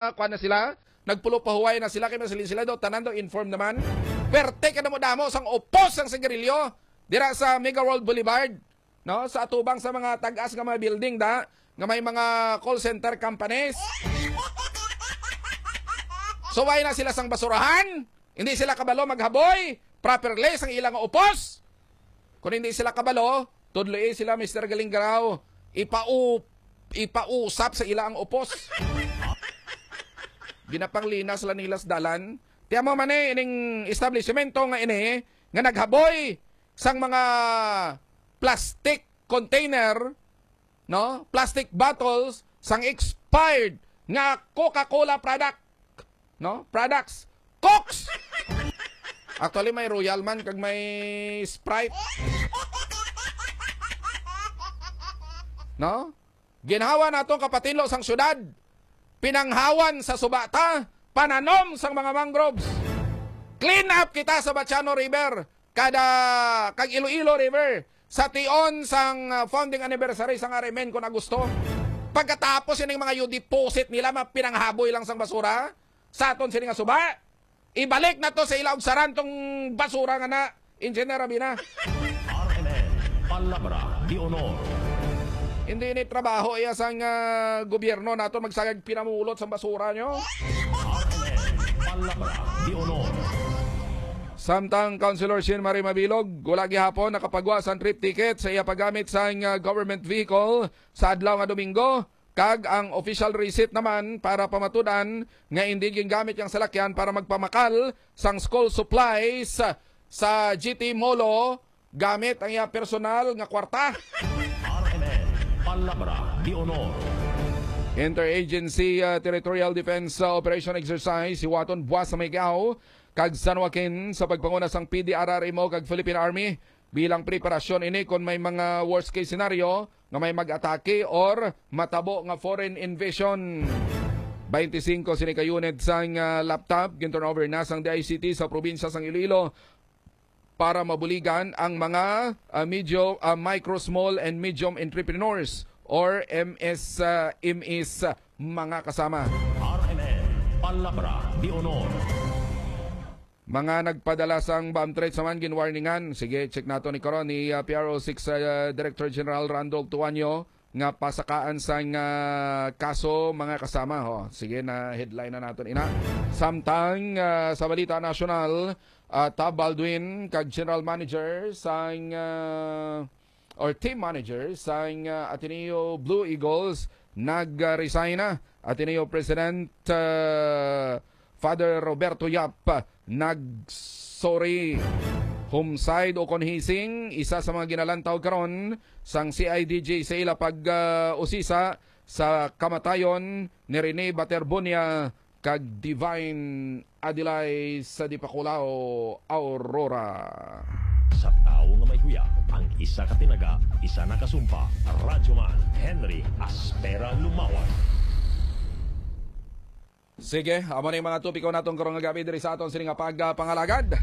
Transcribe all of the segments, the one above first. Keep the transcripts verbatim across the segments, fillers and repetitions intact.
ah, kuwan na sila, nagpulo pahuway na sila, kay masilin sila daw, tanan daw informed naman. Perte ka damo-damo sang upos sang sigarilyo dira sa Mega World Boulevard, no? Sa atubang sa mga tag-as nga mga building da, nga may mga call center companies. Suway na sila sang basurahan, hindi sila kabalo maghaboy properly sang ilang upos. Kung hindi sila kabalo, tudloi sila, Mister Galinggaraw. Ipau-, ipausap sa ila ang upos. Ginapanglinas lang nila sa dalan. Tiyan mo man eh, ining establishmento nga ini, nga naghaboy sang mga plastic container, no? Plastic bottles sang expired nga Coca-Cola product, no? Products. Cokes! Actually, may Royal man kag may Sprite. No? Ginhawa naton kapatinlo sang syudad. Pinanghawan sa suba ta, pananom sang mga mangroves. Clean up kita sa Batiano River, kada, kag Iloilo River, sa tion sang, ah, founding anniversary sang R M N kon Agosto. Pagkatapos ining mga you deposit nila, mapinanghaboy lang sang basura sa aton sini nga suba. Ibalik na to sa ila og saran tong basura nga na, Engineer Rabina. R M N, Palabra de Honor. Hindi ni trabaho iya sang, ah, gobyerno naton magsagag pinamulot sang basura nyo. R M N, Palabra de Honor. Samtang Councilor Shin Marie Mabilog, wala gihapon nakapagwa sang trip ticket sa iya paggamit sang, ah, government vehicle sa adlaw nga Domingo, kag ang official receipt naman para pamatud-an nga indi gingamit ang salakyan para magpamakal sang school supplies sa G T Molo gamit ang iya personal nga kwarta. R M N, Palabra de Honor. Interagency, ah, Territorial Defense, ah, Operation Exercise, hiwaton buwas sa Maygao kag San Joaquin sa pagpanguna sang P D R R M O kag Philippine Army. Bilang preparasyon ini kon may mga worst case scenario nga may mag-atake or matabo nga foreign invasion. Twenty-five sini ka unit sang, ah, laptop ginturnover na sang D I C T sa probinsya sang Iloilo para mabuligan ang mga, ah, medyo, ah, micro, small, and medium entrepreneurs or M S, ah, M Es, ah, mga kasama. R M N, Palabra de Honor. Mga nagpadala sang bomb threats naman ginwarningan. Sige, check nato ni karon ni, ah, P R O six, ah, Director General Randolph Tuanyo nga pasakaan sang, ah, kaso, mga kasama. Ho, sige na, headline na naton ina. Samtang, ah, sa balita nasyonal, ah, Tab Baldwin kag General Manager sang, ah, or team manager sang, ah, Ateneo Blue Eagles nag-resign na. Ateneo President, ah, Father Roberto Yap nag-sorry. Homicide o kon hising, isa sa mga ginalantaw karon sang C I D G sa ila pag, ah, usisa sa kamatayon ni Rene Baterbonia kag Divine Adilay sa Dipakulaw, Aurora. Sa tawo nga may huyag, ang isa ka tinaga, isa na kasumpa. Radyoman Henry Aspera Lumawan. Sige, amo na yung mga topiko naton karong nga gabi diri sa aton sini nga pagpangalagad.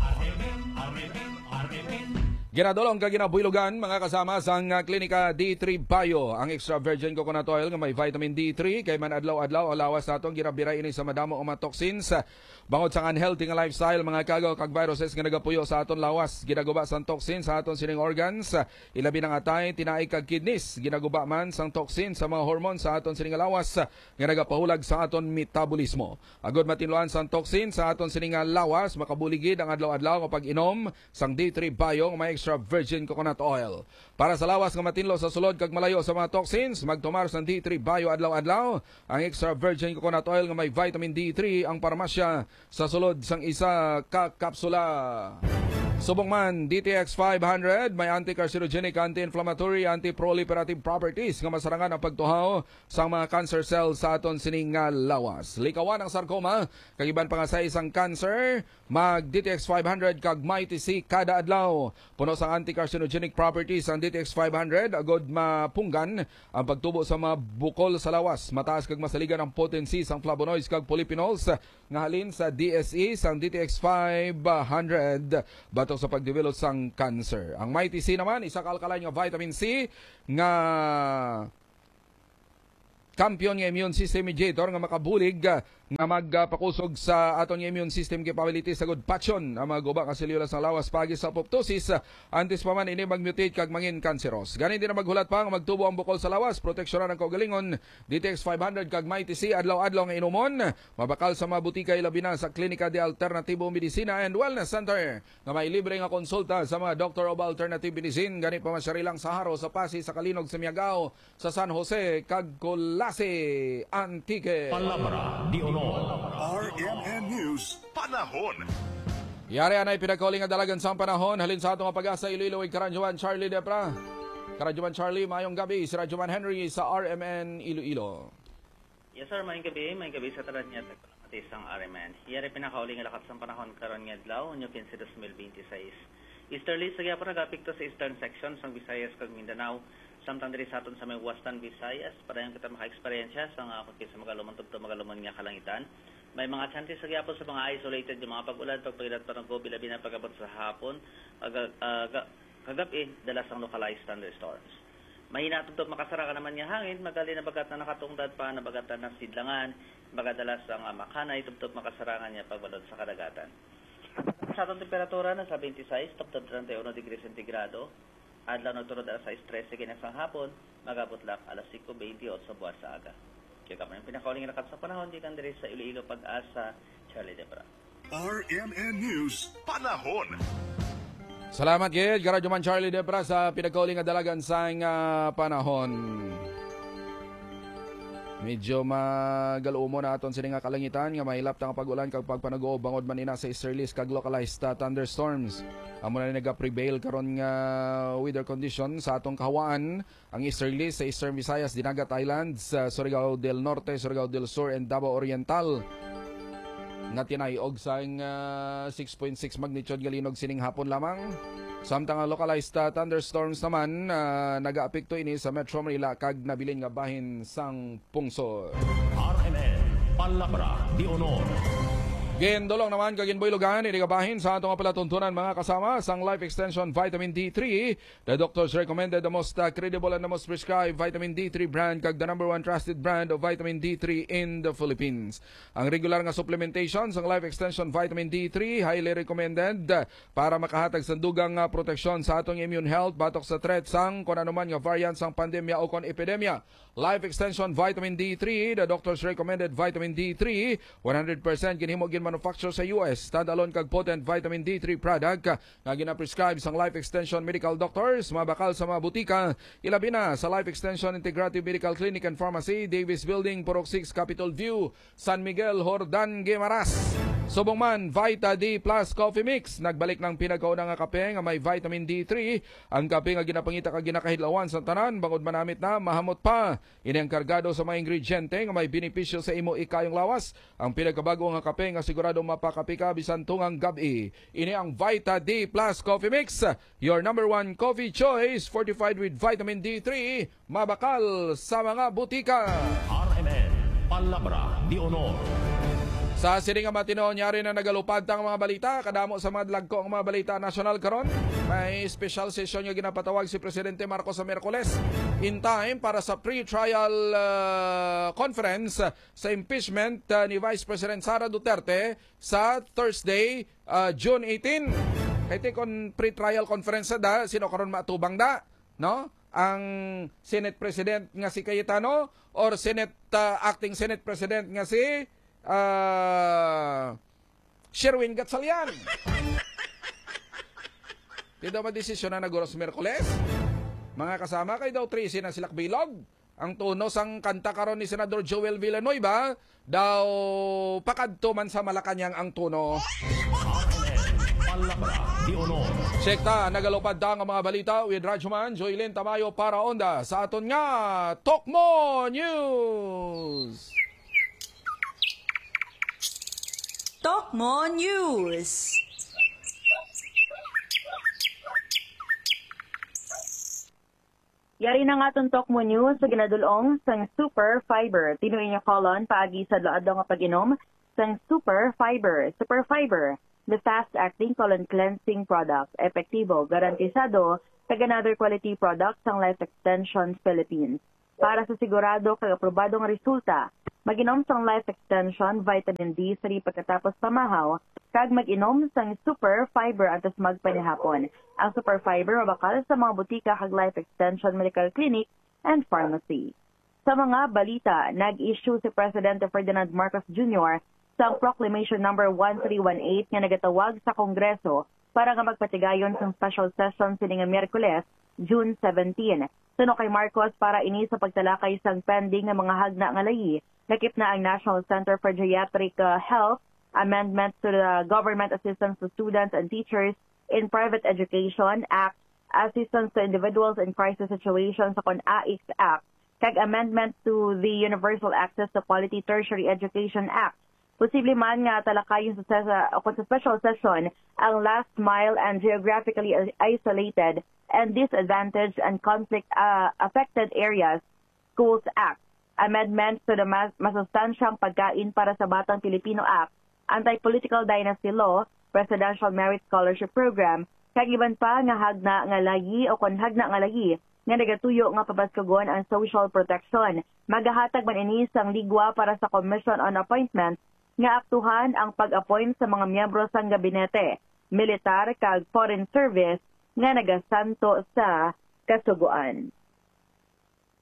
Ginadulong kag ginabuylogan, mga kasama, sang, ah, Klinika D three Bio, ang extra virgin coconut oil nga may vitamin D three, kay man adlaw-adlaw ang lawas naton ginabiray ini sa madamo nga mga toxins, ah, bangod sang unhealthy nga lifestyle, mga kagaw kag viruses nga nagapuyo sa aton lawas. Ginaguba sang toxin sa aton sining organs, ah, ilabi na nga atay, tinai kag kidneys. Ginaguba man sang toxin sa mga hormones sa aton sining lawas, ah, nga nagapahulag sa aton metabolismo. Agod matinluan sang toxin sa aton sini nga lawas, makabulig gid ang adlaw-adlaw nga pag-inom sang D three Bio nga may extra virgin coconut oil. Para sa lawas nga matinlo sa sulod kag malayo sa mga toxins, magtumar sang D three Bio adlaw-adlaw. Ang extra virgin coconut oil nga may vitamin D three ang parmasya sa sulod sang isa ka kapsula. Subong man, D T X five hundred may anti-carcinogenic, anti-inflammatory, anti-proliferative properties nga masarangan ang pagtuhaw sang mga cancer cells sa aton sini nga lawas. Likawan ang sarcoma kag iban pa nga size sang cancer, mag D T X five hundred kag Mighty C kada adlaw. Puno sang anti-carcinogenic properties ang D T X five hundred agod mapunggan ang pagtubo sa mga bukol sa lawas. Mataas kag masaligan ang potency sang flavonoids kag polyphenols nga halin sa D S E sang D T X five hundred batok sa pagdevelop sang cancer. Ang Mighty C naman, isa ka alkaline nga vitamin C nga kampiyon nga immune system mediator nga makabulig, ah, nga magpakusog sa aton nga immune system capability sa gud patyon ang mga guba nga selyula sang lawas paagi sa apoptosis, ah, antes pa man ini magmutate kag mangin kanseros. Gani, di na maghulat pa nga magtubo ang bukol sa lawas, proteksyonan ang kaugalingon. D T X five hundred kag Mighty C adlaw-adlaw nga inumon, mabakal sa mga butika, ilabi na sa Klinika de Alternatibo Medicina and Wellness Center nga may libre nga konsulta sa mga Doctor of Alternative Medicine. Gani, pamasyari lang sa Haro, sa Pasi, sa Kalinog, sa Miagao, sa San Jose, kag Culasi, Antique. Palabra de Honor. R M N News, panahon. Yari anay pinakauli nga dalagan sang panahon halin sa ato nga pag-asa Iloilo, ig Karadyoman Charlie Depra. Karadyoman Charlie, mayong gabi. Si Radyoman Henry sa R M N Iloilo. Yes, sir. Mayong gabi. Mayong gabi sa tanan nga tagpalamati sang R M N. Yari pinakauli nga lakat sang panahon karon nga adlaw, Hunyo quince, dos mil veintiséis. Easterlies sa gihapon nagaapekto sa eastern section sang Visayas kag Mindanao, samtang diri sa aton sa may Western Visayas, padayon kita maka-eksperyensya sang, ah, kung kinsa magalumon tubtob magalumon nga kalangitan. May mga chances sa gihapon sa mga isolated nga mga pag-ulan, pagpainat, panugbo, bilabi na pag-abot sa hapon, aga-, aga-, kagab-i, dala sang localized thunderstorms. Mahina tubtob makasarangan naman nga hangin, magali nabagat na nakatungdad pa, nabagat na nasidlangan, magadala sang, ah, makanay tubtob makasarangan nga pagbalod sa kadagatan. Sa aton temperatura, nasa twenty-six tubtob treinta y uno degrees centigrado. Adlaw nagtulod alas sais trese kini sang hapon, mag-abot lang alas singko beintiotso buwan sa aga. Kaya kamo ang pinakauli nga lakat sa panahon gikan diri sa Iloilo, Pag-asa, Charlie Debra. R M N News, panahon. Salamat gid, Karadyoman Charlie Debra, sa pinakauli nga dalagan sang, ah, panahon. Medyo magal-umon na aton sini nga kalangitan nga mahilap ta nga pag-ulan kag pagpanaguob bangod man ina sa easterlies kag localized, ah, thunderstorms. Amo na ni nagaprevail karon nga weather condition sa atong kahawaan. Ang easterlies sa Eastern Visayas, Dinagat Islands, sa Surigao del Norte, Surigao del Sur, and Davao Oriental, nga tinay-og sang, ah, six point six magnitude nga linog sining hapon lamang. Samtang ang localized, ah, thunderstorms naman, ah, nagaapekto ini sa Metro Manila kag nabilin nga bahin sang pungsod. R M N, Palabra de Honor. Gindulong naman kag ginbuylogan ini nga bahin sa ato nga palatuntunan, mga kasama, sang Life Extension Vitamin D three. The doctors recommended the most, uh, credible and the most prescribed vitamin D three brand kag the number one trusted brand of vitamin D three in the Philippines. Ang regular nga supplementation sang Life Extension Vitamin D three highly recommended, uh, para makahatag sa dugang nga proteksyon sa atong immune health batok sa threat sang kon ano man nga variant sang pandemya o kon epidemya. Life Extension Vitamin D three, the doctor's recommended vitamin D three, one hundred percent ginhimo, ginmanufacture sa U S, standalone kag potent vitamin D three product, nga ginaprescribe sang Life Extension Medical Doctors, mabakal sa mga butika, ilabi na sa Life Extension Integrative Medical Clinic and Pharmacy, Davis Building, Purok six, Capitol View, San Miguel, Jordan, Guimaras. Subong man, Vita D Plus Coffee Mix. Nagbalik ng pinagkauna nga kape nga may vitamin D three, ang kape nga ginapangita kag ginakahidlawan sa tanan, bangod manamit na, mahamot pa. Ini ang kargado sa mga ingrediente nga may benepisyo sa imo ikayong lawas. Ang pinagkabago nga kape nga sigurado mapakape ka bisan tungang gab-i. Ini ang Vita D Plus Coffee Mix, your number one coffee choice, fortified with vitamin D three, mabakal sa mga butika. R M N, Palabra de Honor. Sa sini nga matinuon, yari na nagalupad ta ang mga balita. Kadamo sa mga dalagko nga mga balita nasyonal karon. May special session nga ginapatawag si Presidente Marcos sa Miyerkules, in time para sa pre-trial, ah, conference sa impeachment, ah, ni Vice President Sara Duterte sa Thursday, ah, June eighteen. Kay ti kon pre-trial conference da, sino karon matubang da, no? Ang Senate President nga si Cayetano or Senate, ah, Acting Senate President nga si, ah, Sherwin Gatchalian? Di daw madesisyon na naguro sa Miyerkules. Mga kasama, kay daw trese na sila bilog. Ang tono sang kanta karon ni Senador Joel Villanueva, daw pakadto man sa Malacañang ang tono. Palabra de Honor. Check ta, nagalupad ta nga mga balita with Radyoman Joylin Tamayo para Onda sa aton nga Tokmo News. Tokmo News. Yari na nga aton Tokmo News sa ginadul-ong sang Super Fiber. Tinuoy nga colon paagi sa adlaw-adlaw nga pag-inom sang Super Fiber. Super Fiber, the fast-acting colon cleansing product. Epektibo, garantisado, kag another quality product sang Life Extension Philippines. Para sa sigurado kag aprobado nga resulta, Mag-inom sang Life Extension Vitamin D three pagkatapos pamahaw, kag mag-inom sang Super Fiber antes magpanihapon. Ang Super Fiber mabakal sa mga butika kag Life Extension Medical Clinic and Pharmacy. Sa mga balita, nag-issue si Presidente Ferdinand Marcos Junior sang Proclamation Number one three one eight nga nagatawag sa Kongreso para nga magpatigayon sang special session sini nga Miyerkules, June seventeen. Suno kay Marcos, para ini sa pagtalakay sang pending nga mga hagna nga layi, lakip na ang National Center for Geriatric, uh, Health, Amendment to the Government Assistance to Students and Teachers in Private Education Act, Assistance to Individuals in Crisis Situations, o kon AICS Act, kag Amendment to the Universal Access to Quality Tertiary Education Act. Posible man nga talakayon sa, sa, o kon sa special session ang Last Mile and Geographically Isolated and Disadvantaged and Conflict, uh, Affected Areas Schools Act, amendments to the Mas-, Masustansyang Pagkain para sa Batang Pilipino Act, Anti-Political Dynasty Law, Presidential Merit Scholarship Program, kag iban pa nga hagna nga layi o kon hagna nga layi nga nagatuyo nga pabaskugon ang social protection. Magahatag man ini sang ligwa para sa Commission on Appointments nga aktuhan ang pag-appoint sa mga miyembro sang gabinete, militar kag foreign service nga nagasanto sa Kasugoan.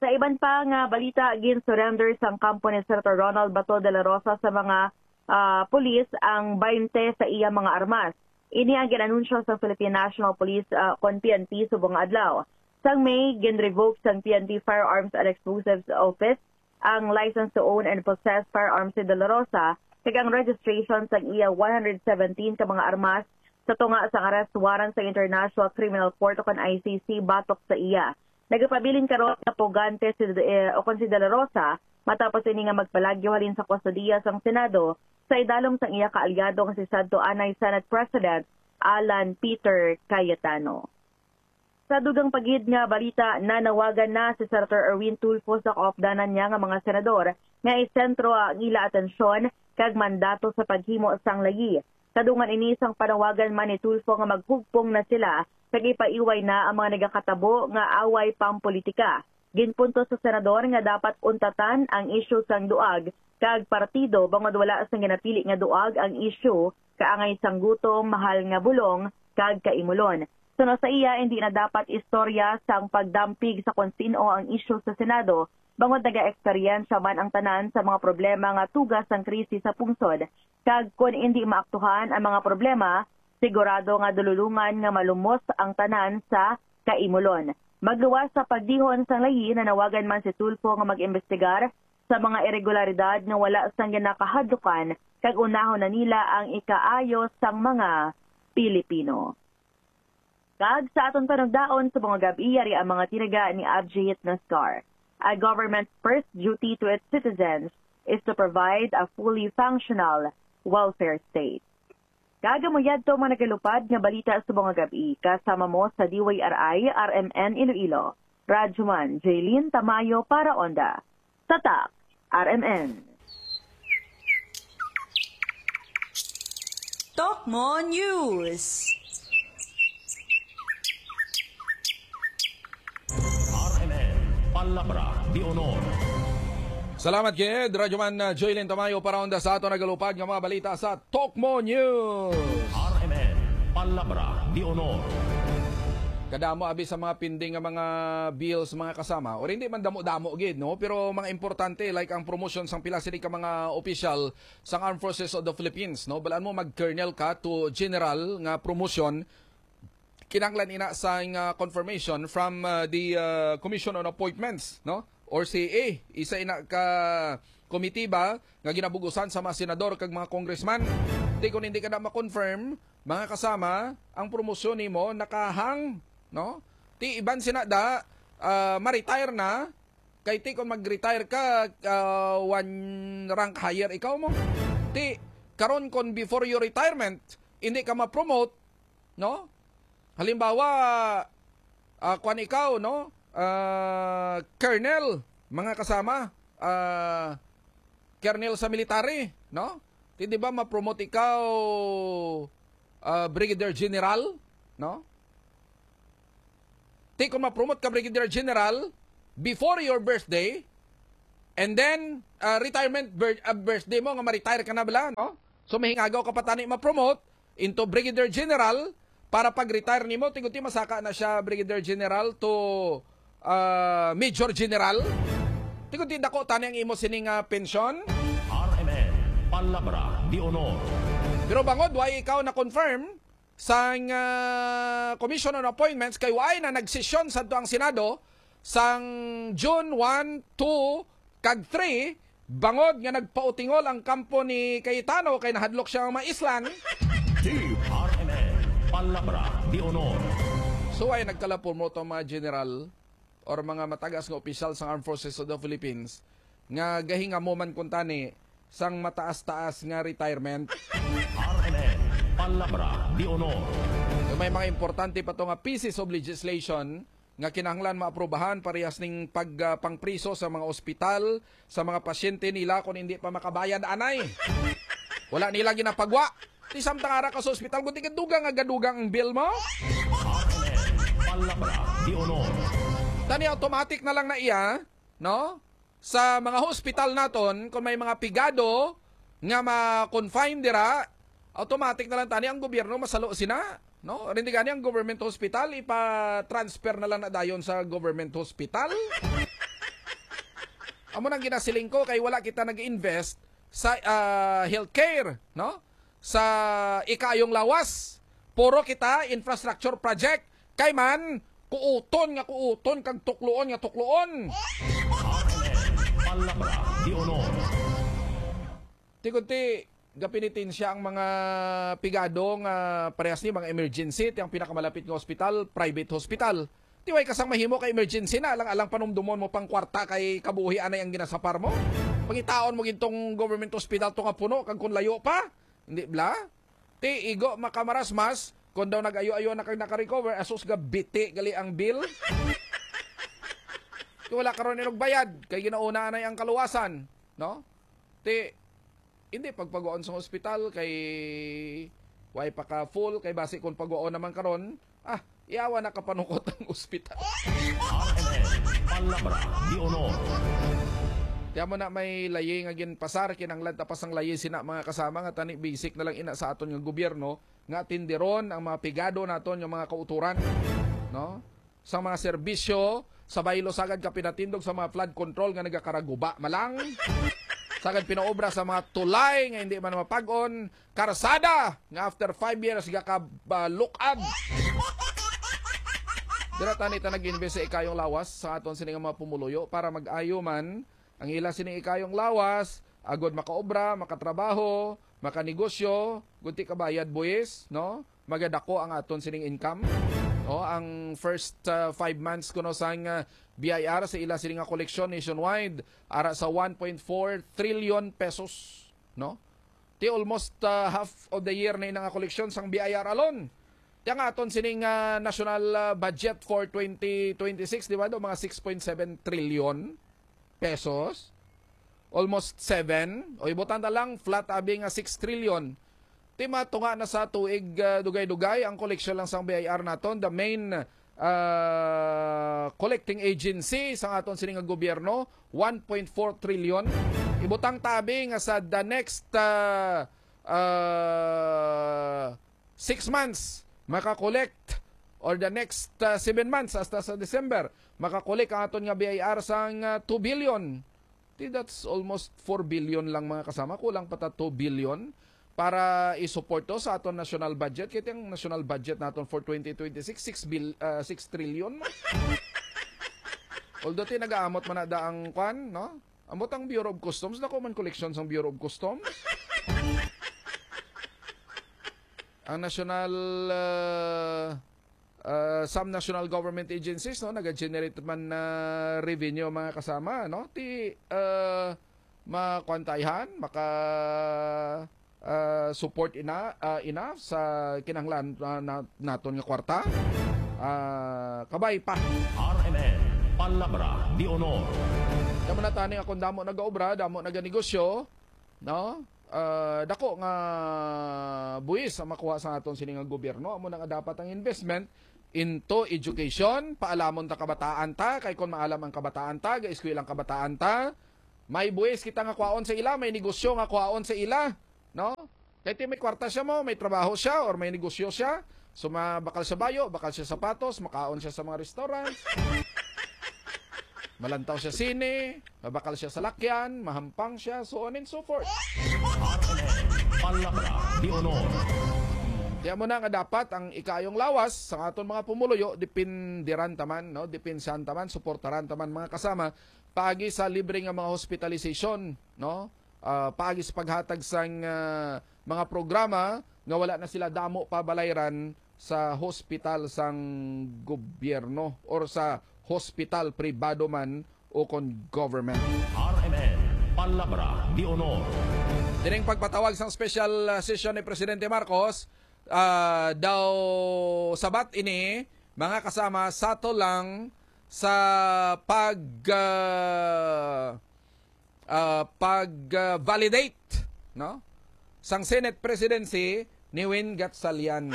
Sa iban pa nga balita, gin-surrender sang kampo ni Senator Ronald Bato de la Rosa sa mga, ah, pulis ang twenty sa iya mga armas. Ini ang gin-anunsyo sa Philippine National Police, ah, kon P N P, subong nga adlaw. Sang May, gin-revoke sang P N P Firearms and Explosives Office ang license to own and possess firearms ni De La Rosa, kag ang registration sang iya one hundred seventeen ka mga armas sa tunga sang arrest warrant sa International Criminal Court o kon I C C batok sa iya. Nagapabilin karon nga pugante si, eh, o kon si De La Rosa matapos ini nga magpalagyo halin sa kustodiya sang Senado sa idalom sang iya kaalyado nga si sadto anay Senate President Alan Peter Cayetano. Sa dugang pa gid nga balita, nanawagan na si Senator Erwin Tulfo sa kaupdanan niya nga mga senador nga isentro ang ila atensyon kag mandato sa paghimo sang layi. Kadungan ini sang panawagan man ni Tulfo nga maghugpong na sila kag ipaiway na ang mga nagakatabo nga away pampolitika. Ginpunto sa senador nga dapat untatan ang isyu sang duag kag partido bangod wala sang ginapili nga duag ang isyu kaangay sang gutom, mahal nga bulong, kag kaimulon. Suno sa iya, hindi na dapat istorya sang pagdampig sa kon sin-o ang isyu sa Senado, bangod nagaeksperyensya man ang tanan sa mga problema nga tuga sang krisis sa pungsod, kag kon indi maaktuhan ang mga problema, sigurado nga dululungan nga malumos ang tanan sa kaimulon. Magluwas sa pagdihon sang layi, nanawagan man si Tulfo nga mag-imbestigar sa mga iregularidad nga wala sang ginakahadlukan kag unahon na nila ang ikaayo sang mga Pilipino. Kag sa aton panugdaon sa mga gab-i, yari ang mga tinaga ni Abjit Nascar. A government's first duty to its citizens is to provide a fully functional welfare state. Kag amo yadto mga nagalupad nga balita sa mga gab-i, kasama mo sa D Y R I R M N Iloilo, Radyoman Jaylene Tamayo para Onda. Tatak R M N. Tokmo News. R M N, Palabra de Honor. Salamat gid, Radyoman, uh, Joylin Tamayo, para unda sa ato nagalupad nga mga balita sa Tokmo News. R M N, Palabra de Honor. Kadamo abi sa mga pending nga mga bills, mga kasama, or hindi man damo-damo gid, no? Pero mga importante, like ang promotion sang pila sini ka mga opisyal sang Armed Forces of the Philippines, no? Balaan mo, mag-colonel ka to general nga promotion, kinahanglan ina sang, ah, confirmation from, ah, the, ah, Commission on Appointments, no? Or C A. Isa ina ka komitiba nga ginabugusan sa mga senador kag mga congressman. Di, kung hindi ka na ma-confirm, mga kasama, ang promosyon nimo nakahang, no? Ti iban sina da, ah, ma-retire na, kay ti kung mag-retire ka, ah, one rank higher ikaw mo. Ti karon, kung before your retirement, hindi ka ma-promote, no? Halimbawa, ah, kwan ikaw, no? Ah, colonel, mga kasama, ah, colonel sa military, no? Ti, di ba, ma-promote ikaw, ah, brigadier general, no? Ti, kung ma-promote ka brigadier general before your birthday, And then, ah, retirement bir- ah, birthday mo nga ma-retire ka na bala, no? So, mahingagaw ka pa tani ma-promote into Brigadier General para pag-retire nimo, tigunti masaka na siya Brigadier General to, ah, Major General. Tigunti dako tani ang imo sining, ah, pensyon. R M N, Palabra de Honor. Pero bangod why ikaw na-confirm sang, ah, Commission on Appointments, kay why na nagsesyon sadto ang Senado sang June one, two, kag three, bangod nga nagpautingol ang kampo ni Cayetano kay nahadlok siya nga maislan. Team R M N, Palabra de Honor. So, ay nagkalapormo to mga general or mga matagas nga opisyal sang Armed Forces of the Philippines nga gahingamuman kuntani sang mataas-taas nga retirement. R M N, Palabra de Honor. Kay may mga importante pa to nga pieces of legislation nga kinahanglan maaprubahan, parehas ning pag, ah, pangpriso sa mga ospital sa mga pasyente nila kung hindi pa makabayad anay. Wala nila ginapagwa. Ti samtang ara ka sa ospital, kung tigadugang nga gadugang ang bill mo. R M N, Palabra de Honor. Tani automatic na lang na iya, no? Sa mga hospital naton, kung may mga pigado nga ma-confine dira, automatic na lang tani ang gobyerno masalo sina, no? Rindi gani ang government hospital, ipa-transfer na lang na dayon sa government hospital. Amo nang ginasiling ko kay wala kita nag-invest sa, ah, healthcare, no? Sa ikayong lawas, puro kita infrastructure project. Kay man, kuuton nga kuuton kag tukloon nga tukloon. Palabra de Honor. Tigunti, gapenitensya ang mga pigado nga parehas ni mga emergency, ti ang pinakamalapit nga ospital, private hospital. Ti way ka sang mahimo kay emergency na, alang-alang panumdumon mo pang kwarta kay kabuhi anay ang ginasapar mo. Pangitaon mo gintong government hospital to nga puno, kag kung layo pa, hindi bla? Ti igo makamarasmas, kung daw nag-ayo-ayo na kag naka-recover, asus ga biti gali ang bill. Kay wala karon inog bayad, kay ginauna anay ang kaluwasan, no? Ti hindi pagpaguaon sa ospital kay way pa ka full, kay basi kung paguaon naman karon, ah, yawa na kapanukot ang ospital. R M N, Palabra de Honor. Kaya mo na may layi nga ginpasar, kinanglan ta pa sang layi sina mga kasama nga tani basic na lang ina sa aton nga gobyerno nga atindiron ang mga pigado naton nga mga kauturan, no? Sa mga serbisyo sa baylo, sagad ka pinatindog sa mga flood control nga nagakaraguba malang, sagad pinaobra sa mga tulay nga hindi man mapag-on, karsada nga after five years gakabalukad. Dira tani ta nag-invest sa ikayong lawas sa aton sini nga mga pumuluyo para mag-ayo man ang ila sini ikayong lawas, agod makaobra, makatrabaho, makanegosyo, gunti kabayad buhis, no? Magadako ang aton sining income. No, ang first, uh, five months kuno sang, uh, B I R sa ila sini nga koleksyon nationwide, ara sa one point four trillion pesos, no? Ti almost, uh, half of the year na ina nga koleksyon sang B I R alone. Ti ang aton sining, uh, national, uh, budget for twenty twenty-six, di ba, do mga six point seven trillion pesos, almost seven, o ibutang ta lang, flat abi nga six trillion. Ti matunga na sa tuig, ah, dugay-dugay ang koleksyon lang sang B I R naton, the main, ah, collecting agency sa aton sini nga gobyerno, one point four trillion. Ibutang ta abi nga sa the next, ah, ah, six months maka-collect, or the next, ah, seven months hasta sa December, maka-collect ang aton nga B I R sang, ah, two billion. Di that's almost four billion lang, mga kasama. Kulang pa ta two billion para i-support to sa aton national budget. Kay ang national budget naton for twenty twenty-six, six bil-, ah, six trillion man. Although ti nagaamot man na da ang kwan, no? Amot ang Bureau of Customs, dako man koleksyon sang Bureau of Customs. Ang national, ah, ah, some national government agencies, no, naga-generate man na revenue, mga kasama, no? Ti, ah, makwantayhan, maka, ah, support ina, ah, enough sa kinahanglan, ah, na, naton nga kwarta. Ah, kabay pa. R M N, Palabra de Honor. Damo na tani akong damo nagaobra, damo naganegosyo, no? Ah, dako nga buhis ang makuha sa aton sini nga gobyerno. Amo na nga dapat ang investment into education, paalamon ta kabataan ta, kay kon maalam ang kabataan ta, ga-eskwela ang kabataan ta, May buhis kita nga kwaon sa ila, may negosyo nga kwaon sa ila, no? Kay ti may kwarta siya mo, may trabaho siya, or may negosyo siya. So, ma-, bakal siya bayo, bakal siya sapatos, makaon siya sa mga restaurants. Malantaw siya sine, mabakal siya sa lakyan, mahampang siya, so on and so forth. Palabra de Honor. Kaya mo na nga dapat ang ikaayong lawas sa aton mga pumuluyo, dipindiran taman, no? Dipinsan taman, suportaran taman mga kasama, paagi sa libre nga mga hospitalization, no? Ah, paagi sa paghatag sang ah, mga programa nga wala na sila damo pa balayran sa hospital sang gobyerno or sa hospital pribado man o kon government. R M N, Palabra de Honor. Dining pagpatawag sang special ah, session ni Presidente Marcos, ah, daw sabat ini, mga kasama, sato lang sa pag ah, ah, pag ah, validate, no, sang Senate presidency ni Win Gatchalian.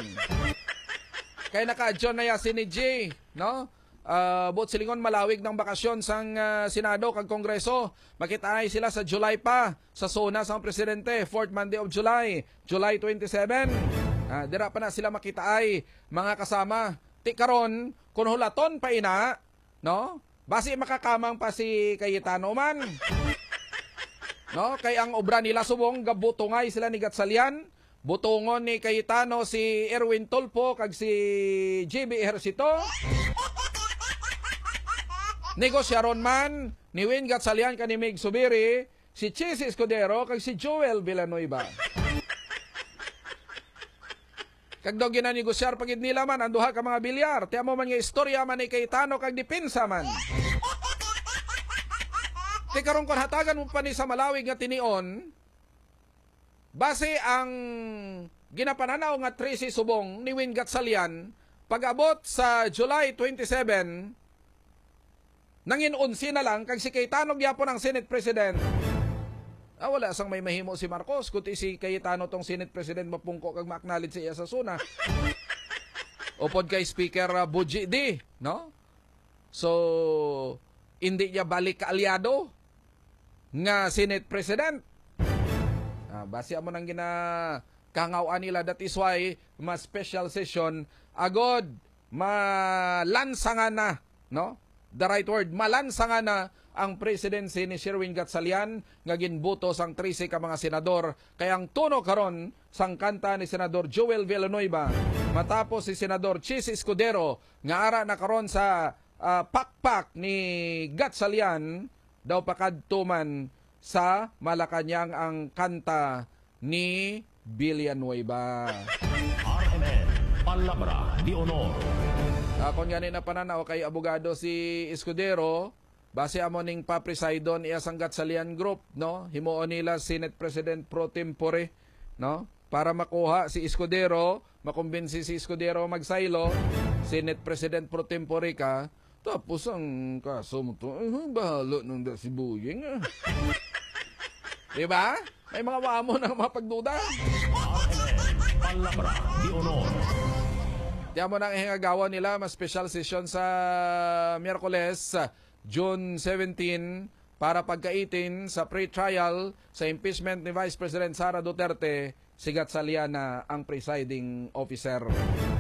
Kay naka-adjourn na ya si ni G, no? Ah, buot silingon, malawig ng bakasyon sang ah, Senado kag Kongreso. Makitaay sila sa July pa sa SONA sang presidente, fourth Monday of July, July twenty-seven. Ah, dira pa na sila makitaay, mga kasama. Ti karon, kung hulaton pa ina, no? Basi makakamang pa si Cayetano man. No? Kay ang obra nila subong, gabutungay sila ni Gatchalian. Butungon ni Cayetano si Erwin Tulfo kag si J B Ejercito. Negosyaron man ni Win Gatchalian kag ni Mig Zubiri si Chiz Escudero kag si Joel Villanueva. Kag daw ginanegosiyar pa gid nila man ang duha ka mga bilyar. Ti amo man nga istorya man ni Cayetano kag depensa man. Ti karon, kon hatagan mo pa ni sa malawig nga tinion, base ang ginapananaw nga trese subong ni Win Gatchalian, pag-abot sa July twenty-seven, nangin onse na lang, kag si Cayetano gyapon ang Senate President. Ah, wala sang may mahimo si Marcos, kundi si Cayetano tong Senate President mapungko kag ma-acknowledge sa iya sa SONA. Upod kay Speaker ah, Bogie D, no? So, hindi niya balik kaalyado nga Senate President. Ah, basi amo nang ginakangaw-an nila, that is why ma-special session agod malansangan na, no? The right word, malansangan na ang presidency ni Sherwin Gatchalian nga ginbuto sang trese ka mga senador, kay ang tono karon sang kanta ni Senador Joel Villanueva matapos si Senador Chiz Escudero nga ara na karon sa ah, pakpak ni Gatchalian daw pakadto man sa Malacañang ang kanta ni Villanueva. R M N, Palabra de Honor. Akon gani na pananaw kay abogado si Escudero, base amo ning papresidon iya sang Gatchalian Group, no? Himuon nila Senate President pro tempore, no? Para makuha si Escudero, makumbinsi si Escudero magsaylo, Senate President pro tempore ka, tapos ang kaso mo to, eh, bahala nang da si Buying, ah. Di ba? May mga wamo na mga pagduda. Palabra de Honor. Di amo nang ihingagawan nila, mas special session sa Miyerkules, June seventeen, para pagkaitin sa pre-trial sa impeachment ni Vice President Sara Duterte, si Gatchalian na ang presiding officer.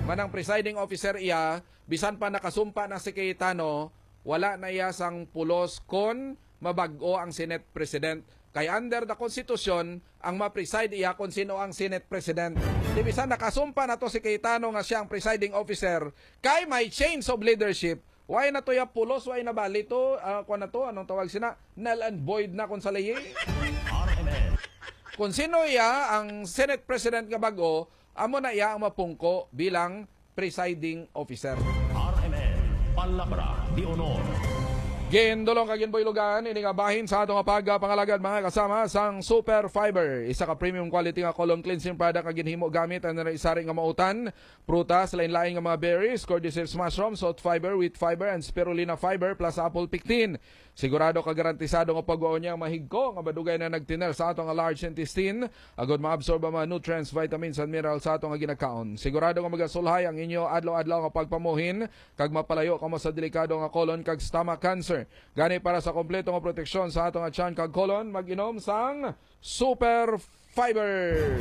Manang presiding officer iya, bisan pa nakasumpa na si Cayetano, wala na iya sang pulos kon mabag-o ang Senate President. Kay under the Constitution, ang ma-preside iya kon sino ang Senate President. Di bisan nakasumpa na to si Cayetano nga siya ang presiding officer, kay may change of leadership, why na to ya pulos, why na bali to, ah, kuwan na to, anong tawag sina? Null and void na kung sa layi. R M N. Kung sino iya ang Senate President nga bag-o, amo na iya ang mapungko bilang presiding officer. R M N, Palabra de Honor. Gindulong kag ginbuylogan ini nga bahin sa ato nga pagpangalagad, mga kasama, sang Super Fiber, isa ka premium quality nga colon cleansing product nga ginhimo gamit ang sari-sari nga mautan, prutas, lain-lain nga mga berries, cordyceps mushrooms, oat fiber, wheat fiber, and spirulina fiber, plus apple pectin. Sigurado kag garantisado nga pagwaon niya ang mahigko nga madugay na nagtiner sa ato nga large intestine, agod maabsorb ang mga nutrients, vitamins, and minerals sa ato nga ginakaon. Sigurado nga magasulhay ang inyo adlaw-adlaw nga pagpamuhin kag mapalayo kamo sa delikado nga colon kag stomach cancer. Gani, para sa kompleto nga proteksyon sa ato nga tiyan kag colon, mag-inom sang Super Fiber.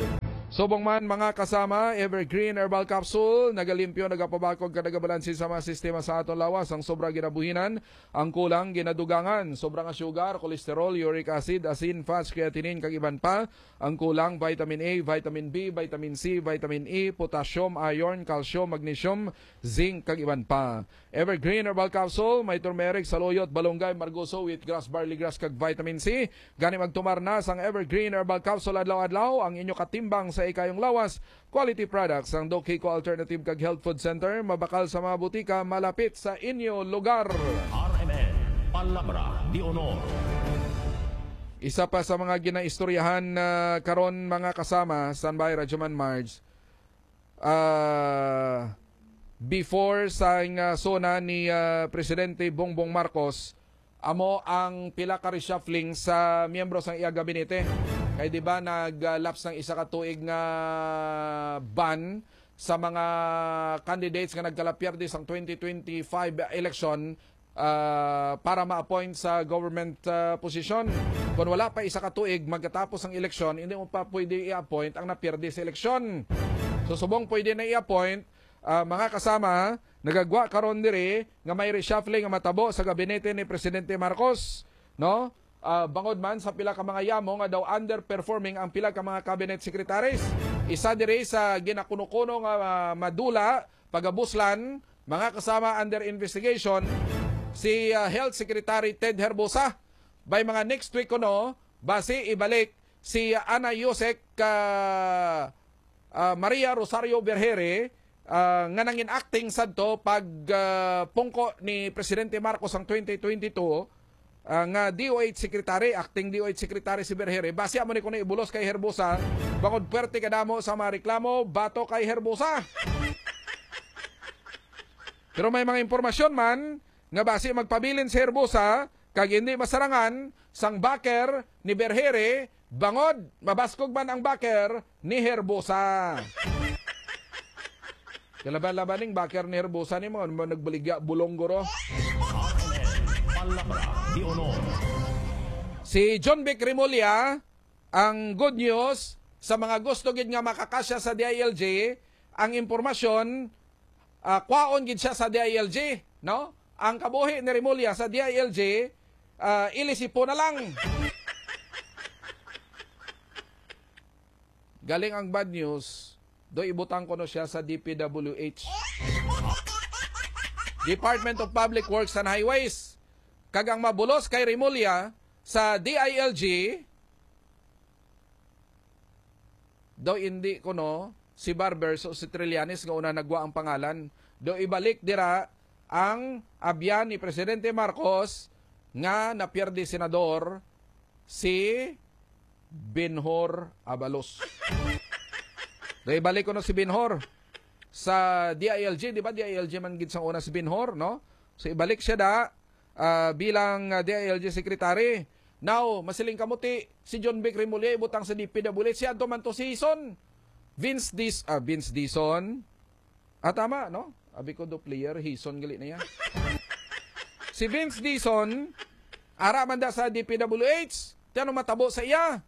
Subong man, mga kasama, Evergreen Herbal Capsule nagalimpyo, nagapabakog, kag nagabalanse sa mga sistema sa aton lawas. Ang sobra ginabuhinan, ang kulang ginadugangan, sobra nga sugar, cholesterol, uric acid, asin, fats, creatinine, kag iban pa. Ang kulang, vitamin A, vitamin B, vitamin C, vitamin E, potassium, iron, calcium, magnesium, zinc, kag iban pa. Evergreen Herbal Capsule may turmeric, saluyot, balunggay, margoso, wheatgrass, barley grass, kag vitamin C. Gani, magtumar na sang Evergreen Herbal Capsule adlaw-adlaw, ang inyo katimbang sa ikayong lawas. Quality products ang Doc Hico Alternative kag Health Food Center, mabakal sa mga butika malapit sa inyo lugar. R M N, Palabra de Honor. Isa pa sa mga ginaistoryahan, ah, karon, mga kasama, standby, Radyo Man Marge, ah, before sa nga SONA ni, ah, Presidente Bongbong Marcos, amo ang pila ka reshuffling sa miyembro sang iya gabinete. Kay, di ba, nag-lapse ang isa ka tuig nga ban sa mga candidates nga nagkalapierde sang twenty twenty-five election, ah, para ma-appoint sa government, ah, position. Kung wala pa isa ka tuig magkatapos ang eleksyon, hindi mo pa pwede i-appoint ang napierde sa eleksyon. So, subong pwede na i-appoint, ah, mga kasama, nagagwa karon diri nga may reshuffling nga matabo sa gabinete ni Presidente Marcos, no? Ah, bangod man sa pila ka mga yamo nga daw underperforming ang pila ka mga cabinet secretaries. Isa diri sa ginakuno-kuno nga, ah, madula, pagabuslan, mga kasama, under investigation, si, ah, Health Secretary Ted Herbosa. By mga next week kuno, basi ibalik si Ana Yusek, ah, ah, Maria Rosario Vergeire, ah, nga nangin-acting sadto pag, ah, pungko ni Presidente Marcos ang twenty twenty-two, ah, nga D O H secretary, acting D O H secretary si Vergeire. Basi amo ni kuno ibulos kay Herbosa, bangod puwerte kadamo sa mga reklamo batok kay Herbosa. Pero may mga impormasyon man nga basi magpabilin si Herbosa kag hindi masarangan sang backer ni Vergeire, bangod mabaskog man ang backer ni Herbosa. Kalaban-laban ning backer ni Herbosa ni mo, mo nagbaligya bulong, guro. Palabra de Honor. Si John Vic Remulla, ang good news sa mga gusto gid nga makakasya sa D I L G, ang impormasyon, ah, kwaon gid siya sa D I L G, no? Ang kabuhi ni Remulla sa D I L G, ah, ilisipo na lang. Galing ang bad news, do ibutang ko no siya sa D P W H. Department of Public Works and Highways. Kag ang mabulos kay Remulla sa D I L G, daw indi kuno si Barbers o si Trillanes nga una nagwa ang pangalan. Daw ibalik dira ang abyan ni Presidente Marcos nga napierde senador, si Benhur Abalos. Daw ibalik kuno si Benhur sa D I L G, di ba? D I L G man gid sang una si Benhur, no? So, ibalik siya da, ah, bilang, ah, D I L G secretary. Now, masiling kamo ti si John Vic Remulla ibutang sa D P W H, si adto man to si Hison. Vince Dis-, ah, Vince Dizon. Ah, tama, no? Abi ko do player, Hison gali na iya. Si Vince Dizon, ara man da sa D P W H, ti ano matabo sa iya?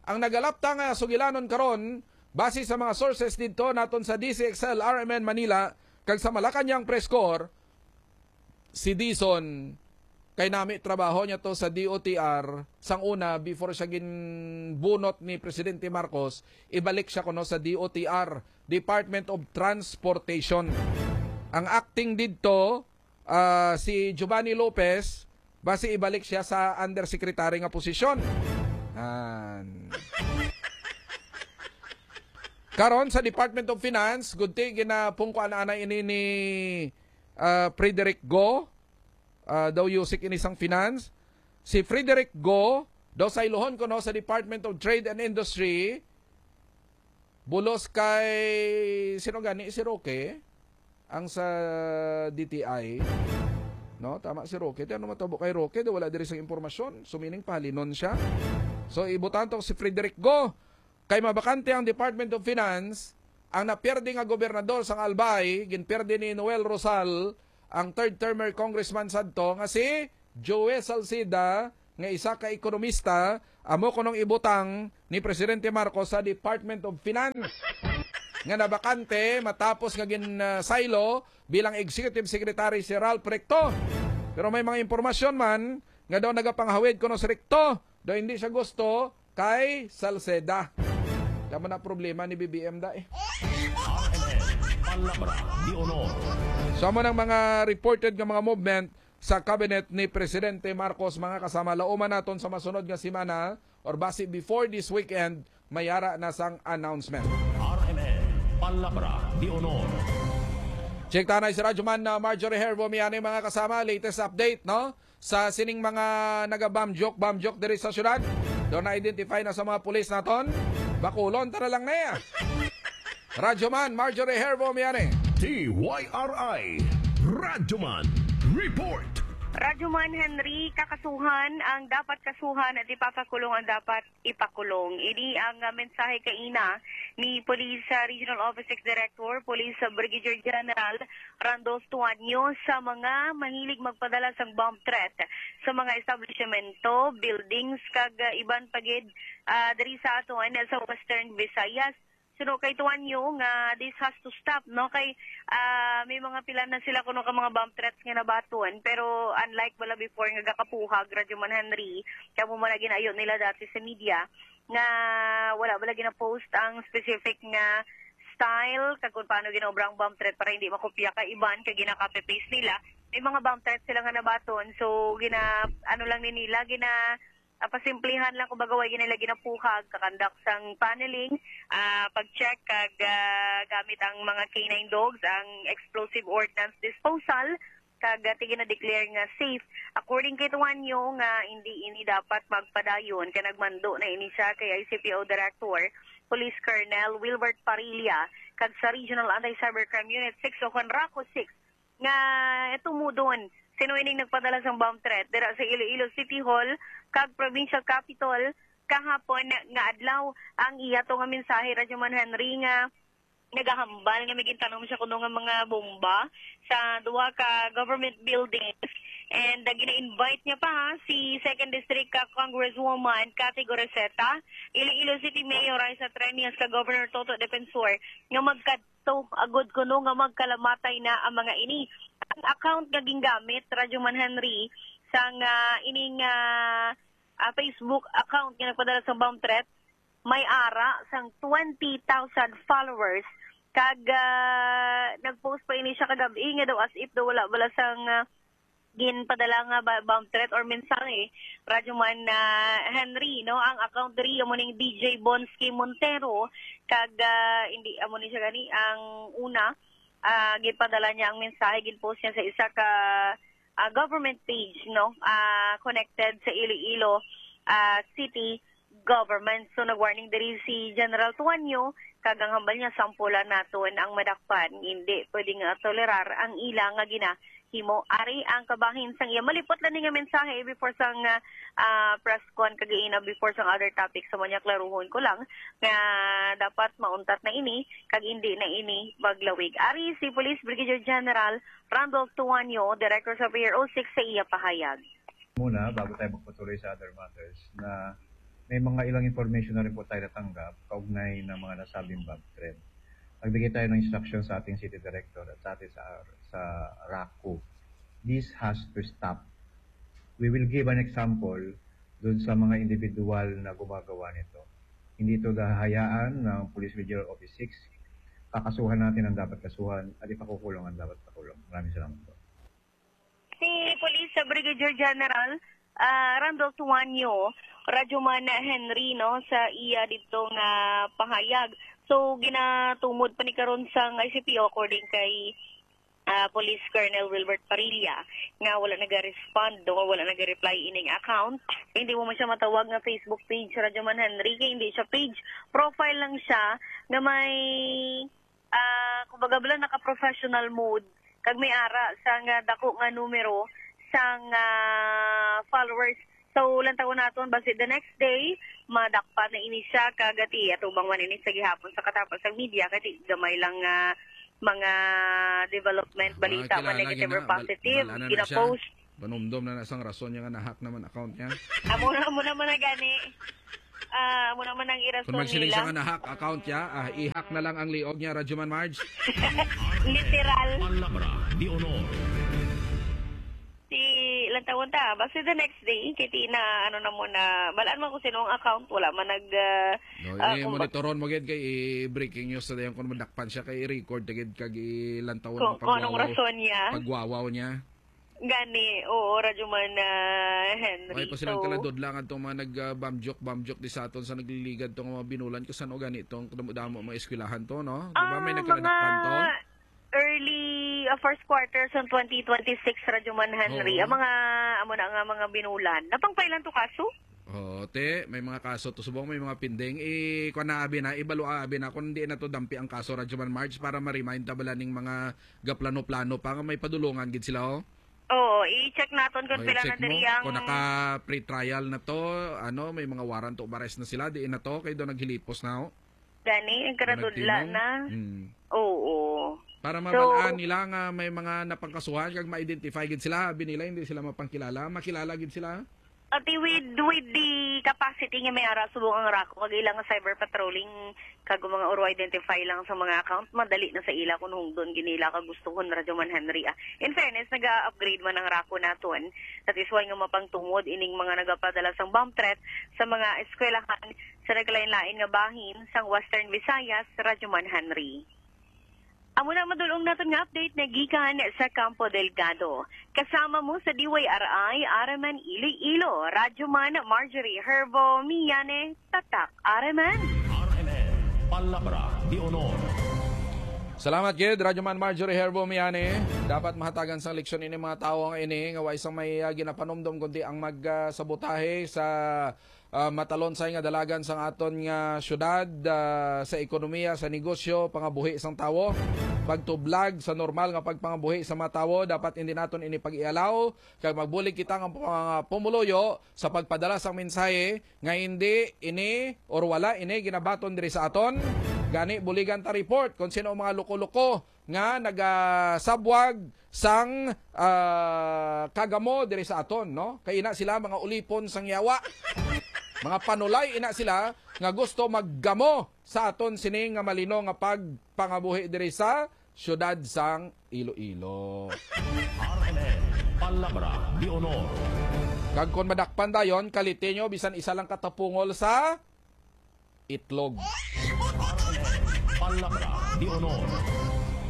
Ang nagalapta nga sugilanon karon, base sa mga sources didto naton sa D C X L R M N Manila kag sa Malacañang Press Corps, si Dizon kay nami trabaho niya to sa D O T R sang una, before siya ginbunot ni Presidente Marcos, ibalik siya kuno sa D O T R, Department of Transportation. Ang acting didto, ah, si Giovanni Lopez, basi ibalik siya sa undersecretary nga posisyon. An. Karon sa Department of Finance, gudti ginapungkuan ana ini ni, ah, Frederick Go. Ah, daw yusik ini sang finance. Si Frederick Go, daw saylohon kuno sa Department of Trade and Industry, bulos kay, sino gani, si Roque, ang sa D T I. No, tama si Roque. Ti ano matabo kay Roque? Daw wala diri sang impormasyon. So, meaning, pahalinon siya. So, ibutang to si Frederick Go. Kay mabakante ang Department of Finance, ang napierde nga gobernador sang Albay, ginpierde ni Noel Rosal, ang third termer congressman sadto nga si Joe Salceda, nga isa ka ekonomista, amo kunong ibutang ni Presidente Marcos sa Department of Finance nga nabakante matapos nga gin-, ah, saylo bilang Executive Secretary si Ralph Recto. Pero may mga impormasyon man nga daw nagapanghawid kuno si Recto, daw hindi siya gusto kay Salceda. Tama na problema ni B B M da eh. R M N, Palabra de Honor. So, amo nang mga reported nga mga movement sa cabinet ni Presidente Marcos, mga kasama. Lauman naton sa masunod nga semana or basi before this weekend, may ara na sang announcement. R M N, Palabra de Honor. Check tanay si Radyoman na Marjorie Herbo Miani, mga kasama. Latest update, no? Sa sining mga naga-bomb joke, bomb joke diri sa syudad. Doon na-identify na sa mga pulis naton. Bakulon, tara lang na ya. Radyoman Marjorie Herbo Miani. D Y R I, Radyoman Report. Radyoman Henry, kakasuhan ang dapat kasuhan at ipapakulong ang dapat ipakulong. Ini ang, ah, mensahe kaina ni Police, ah, Regional Office six Director, Police, ah, Brigadier General Randolph Tuanyo sa mga mahilig magpadala sang bomb threat sa mga establishmento, buildings, kag, ah, iban pa gid, ah, diri sa aton, ah, sa Western Visayas. Suno kay Tuanyo nga this has to stop, no? Kay, ah, may mga pila na sila kuno ka mga bomb threats nga nabaton, pero unlike bala before nga gakapuhag, Radyoman Henry, kamo man na ginayo nila dati sa media nga wala bala gina-post ang specific nga style kag kung paano ginaobra ang bomb threat para hindi makopya ka iban kag gina-copy paste nila. May mga bomb threats sila nga nabaton, so gina ano lang ni nila, gina ah, pasimplihan lang, kumbaga, way nila ginapuhag, kakandak sang paneling, ah, pag-check kag, ah, gamit ang mga K nine dogs, ang explosive ordnance disposal, kag, ah, tigina-declare nga safe. According kay Tuanyo nga hindi ini dapat magpadayon, kay nagmando na ini siya kay I C P O Director, Police Colonel Wilbert Parilla, kag sa Regional Anti-Cybercrime Unit six o kon RACU six, nga tumudon sino ining nagpadala sang bomb threat dira sa Iloilo City Hall kag Provincial Capitol kahapon nga adlaw. Ang iya to nga mensahe, Radyoman Henry, nga nagahambal nga may gintanom siya kuno nga mga bomba sa duha ka government buildings, and uh, gina-invite niya pa, ha, si Second District ka Congresswoman Cathy Goriseta, Iloilo City Mayor Raisa Treñas, ka Governor Toto Defensor nga magkad to agod kuno nga magkalamatay na ang mga ini. Ang account nga gingamit, Radyoman Henry, sang, ah, ining, ah, ah, Facebook account nga nagpadala sa bomb threat, may ara sang twenty thousand followers. Kag, ah, nag-post pa ini siya kagab-i nga daw as if daw wala bala sang, ah, ginpadala nga ba, bomb threat or mensahe, Radyoman, ah, Henry, no? Ang account diri amo ning D J Bonsky Montero, kag, ah, hindi amo ni siya gani ang una, ah, ginpadala niya ang mensahe, ginpost niya sa isa ka, ah, government page, no? Ah, connected sa Iloilo, ah, City government. So, nag-warning diri si General Tuanyo, kag ang hambal niya, sampulan naton ang madakpan. Hindi pwede nga tolerar ang ila nga ginahimo. Ari ang kabahin sang iya malipot lang ni nga mensahe before sang, ah, ah, press con kag ina before sang other topics. Sa mo niya, klaruhon ko lang nga dapat mauntat na ini kag hindi na ini maglawig. Ari si Police Brigadier General Randolph Tuanyo, Director sa P R O six, sa iya pahayag. Muna, bago tayo magpatuloy sa other matters, na may mga ilang information na rin po tayo natanggap kaugnay ng mga nasabing bomb threat. Nagbigay tayo ng instruction sa ating city director at sa ating sa, sa RACU. This has to stop. We will give an example dun sa mga individual na gumagawa nito. Hindi ito dahayaan ng Police Regional Office six. Kakasuhan natin ang dapat kasuhan at ipakukulong ang dapat pakulong. Maraming salamat po. Si Police Brigadier General, ah, Randolph Tuanyo, Radyoman Henry, no, sa iya dito nga pahayag. So, ginatumod pa ni karon sang I C P O, according kay, ah, Police Colonel Wilbert Parilla, nga wala naga-respond o wala naga-reply ining account. Hindi mo man siya matawag nga Facebook page, Radyoman Henry, kay hindi siya page. Profile lang siya nga may, ah, kumbaga bala, naka-professional mode, kag may ara sang, ah, dako nga numero sang, ah, followers. So, lantawon naton, basi the next day, madakpan na ini siya, kag ati, atubang man ini sa gihapon sa katapos sang media, kay gamay lang nga mga development, balita man, negative or positive, gina-post. Panumdom na na sang rason niya nga na-hack naman account niya. Amo na, amo naman na gani. Ah, amo naman ang irason Kung magsiling siya nila. Nga na-hack account niya, ah, i-hack na lang ang liog niya, Radyoman Marge. Literal. Palabra de honor. Si, ilang taon ta? Basta the next day, kay ti na, ano na mo na, balaan mo kung sino ang account, wala man nag, ah, No, ah, eh, kung ba- monitoron mo gid kay i-, breaking news sa dayon kung madakpan siya kay i-record ta gid kag ilang taon Kung, ang kung anong pagwawaw, rason niya. Pagwawaw niya. Gani, oo, Radyo Man, ah, Henry. Ay, pa silang So, kaladod lang atong mga nag, ah, bamjok, bamjok di sa aton sa nagliligad tong mga binulan, kung saan o gani tong damo-damo mga eskwelahan to, no? Di ba may Ah, nagkaladakpan to? mga early, ah, first quarter sa twenty twenty-six, Radyo Man Henry. Oo. Ang mga, amo na nga mga binulan. Napangpailan to kaso? Oo, te, may mga kaso to subong, may mga pending. I, kuwan na, abi na, ibalo, abi na, kung hindi na to dampi ang kaso, Radyo Man Marge, para ma-remind ta bala ning mga gaplano-plano pa nga may padulungan gid sila, oh. Oo, i-check naton kung Oh, pila na i-check mo. Diri ang Kung naka pre-trial na to, ano, may mga warrant of arrest na sila, diin na to, kay do naghilipos na, oh. Gani, ang karadudla Nagtinong? Na. Hmm. Oo. Para So, mabalaan nila nga may mga napangkasuhan kag ma-identify gid sila, abi nila hindi sila mapangkilala, makilala gid sila. Ati with, with the capacity nga may ara subong ang RACU kag ilang cyber patrolling kag mga uro identify lang sa mga account, madali na sa ila kung hungdon gid nila kag gustuhon, Radyo Man Henry, ah. In fairness, naga-upgrade man ang RACU naton. That is why nga mapangtungod ining mga nagapadala sang bomb threat sa mga eskwelahan sa nagkalain-lain nga bahin sang Western Visayas, Radyo Man Henry. Amo na ang madulong naton nga update na gikan sa Campo Delgado. Kasama mo sa D Y R I, R M N Iloilo, Radyo Man Marjorie Herbo Miane, Tatak R M N. R M N, Palabra de Honor. Salamat gid, Radyo Man Marjorie Herbo Miane. Dapat mahatagan sang leksyon ini mga tawo nga ini nga way sang may, ah, ginapanumdom kundi ang mag, ah, sabotahe sa, ah, matalonsay nga dalagan sang aton nga syudad, ah, sa ekonomiya, sa negosyo, pangabuhi sang tawo, pagtublag sa normal nga pagpangabuhi sa mga tawo. Dapat hindi naton ini pag-ialaw, kag magbulig kita nga mga pumuluyo sa pagpadala sang mensahe nga hindi ini or wala ini ginabaton diri sa aton. Gani, buligan ta report kung sino ang mga loko-loko nga nagasabwag sang, ah, kagamo diri sa aton, no? Kay ina sila mga ulipon sang yawa. Mga panulay ina sila nga gusto maggamo sa aton sini nga malino nga pagpangabuhi diri sa siyudad sang Iloilo. R M N, Palabra de Honor. Kag kon madakpan dayon, kaliti nyo bisan isa lang ka tapungol sa itlog. Palabra de Honor.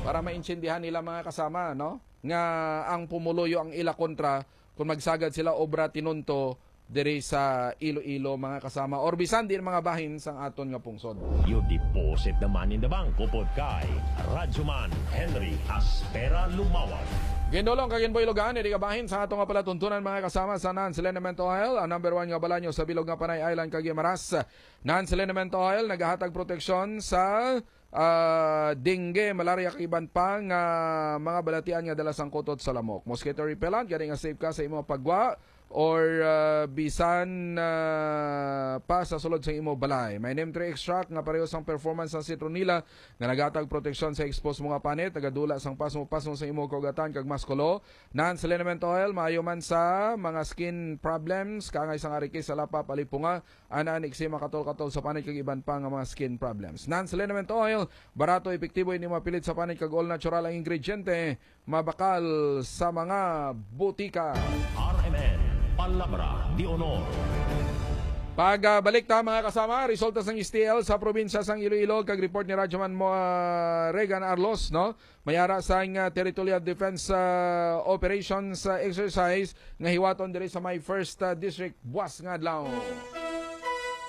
Para maintindihan nila, mga kasama, no, nga ang pumuluyo ang ila kontra kung magsagad sila obra tinunto diri sa Iloilo, mga kasama, or bisan din mga bahin sang aton nga pungsod. You deposit the money in the bank, upod kay Radyoman Henry Aspera Lumawag. Gindulong kag ginbuilogan, diri ka bahin sa ato nga palatuntunan, mga kasama, sa Nance Liniment Oil, ang number one nga balanyo sa bilog nga Panay Island kag Guimaras. Nance Liniment Oil nagahatag proteksyon sa, ah, dengue, malaria, kag iban pa nga mga balatian nga dala sang kutot sa lamok. Mosquito repellent, gani nga safe ka sa imo pagwa or, ah, bisan, ah, pa sa sulod sang imo balay. May neem tree extract nga pareho sang performance sang citronella nga naghatag proteksyon sa exposed mo nga panit, nagadula sang pasmo-pasmo sa imo kaugatan kag muskulo. Nance Liniment Oil maayo man sa mga skin problems, kaangay sang arikis, salapa, palipunga, ana, eczema, katol-katol sa panit kag iban pa nga mga skin problems. Nance Liniment Oil, barato, epektibo, hindi mapilit sa panit kag all natural ang ingrediente, mabakal sa mga butika. R M N, Palabra de Honor. Pagbalik ta, mga kasama, resulta sang S T L sa probinsya sang Iloilo kag report ni Radyoman mo, ah, Regan Arlos, no? May ara sang, ah, Territorial Defense, ah, Operations, ah, Exercise nga hiwaton diri sa may First, ah, District buas nga adlaw.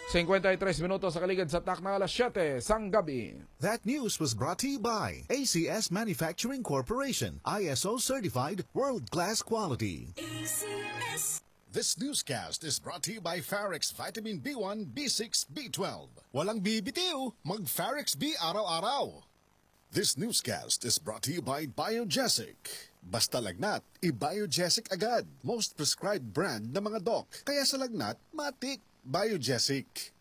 Singkwenta y tres minutos sa kaligad sa takna, alas siyete sang gabi. That news was brought to you by A C S Manufacturing Corporation, I S O certified, world-class quality. A C S. This newscast is brought to you by Farex Vitamin B one, B six, B twelve. Walang bibitiw, mag Farex B araw-araw. This newscast is brought to you by Biogesic. Basta lagnat, i-Biogesic agad. Most prescribed brand na mga doc. Kaya sa lagnat, matik, Biogesic.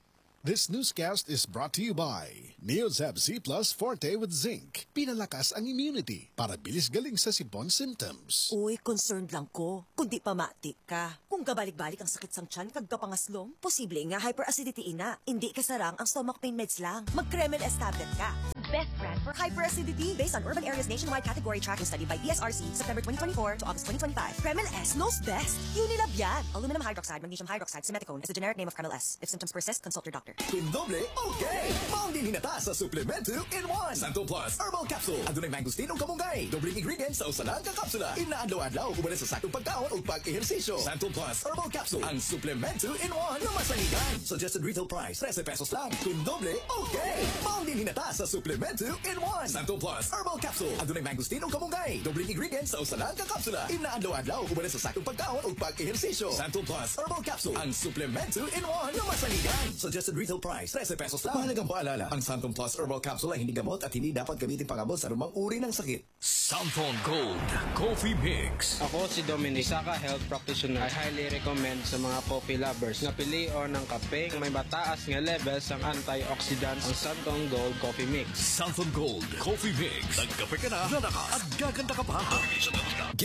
This newscast is brought to you by Neozeb Z Plus Forte with Zinc. Pinalakas ang immunity para bilis galing sa sipon symptoms. Uy, concerned lang ko. Kung di pamati ka. Kung gabalik-balik ang sakit sang tiyan kag kapangaslom, posible nga hyperacidity ina. Hindi kasarang ang stomach pain meds lang. Mag Kremel S tablet ka. Best brand for hyperacidity based on urban areas nationwide category tracking study by E S R C, September twenty twenty-four to August twenty twenty-five. Kremel S knows best. Unilab yan. Aluminum hydroxide, magnesium hydroxide, simeticone is the generic name of Kremel S. If symptoms persist, consult your doctor. Kun doble, okay! Maong din hinata sa Suplemento in one. Santon Plus Herbal Capsule. Adunay mangosteen ug kamunggay. Dobleng ingredients sa usa lang ka kapsula. Ina adlaw-adlaw, uban sa saktong pagkaon ug pag-ehersisyo. Santon Plus Herbal Capsule. Ang Suplemento in one nga masaligan. Suggested retail price, trese pesos lang. Kun doble, okay! Maong din hinata sa Suplemento in one. Santon Plus Herbal Capsule. Adunay mangosteen ug kamunggay. Dobleng ingredients sa usa lang ka kapsula. Ina adlaw-adlaw, uban sa saktong pagkaon ug pag-ehersisyo. Santon Plus Herbal Capsule. Ang Suplemento in one nga masaligan. Suggested retail price, trese pesos lang. Mahalagang paalala, ang Santon Plus Herbal Capsule ay hindi gamot at hindi dapat gamitin pang-abot sa anumang uri ng sakit. Santon Gold Coffee Mix. Ako si Dominic, isa ka health practitioner. I highly recommend sa mga coffee lovers nga pilion ang kape nga may mataas nga level sang antioxidants, ang Santon Gold Coffee Mix. Santon Gold Coffee Mix. Nagkape ka na, nanakas, at gaganda ka pa.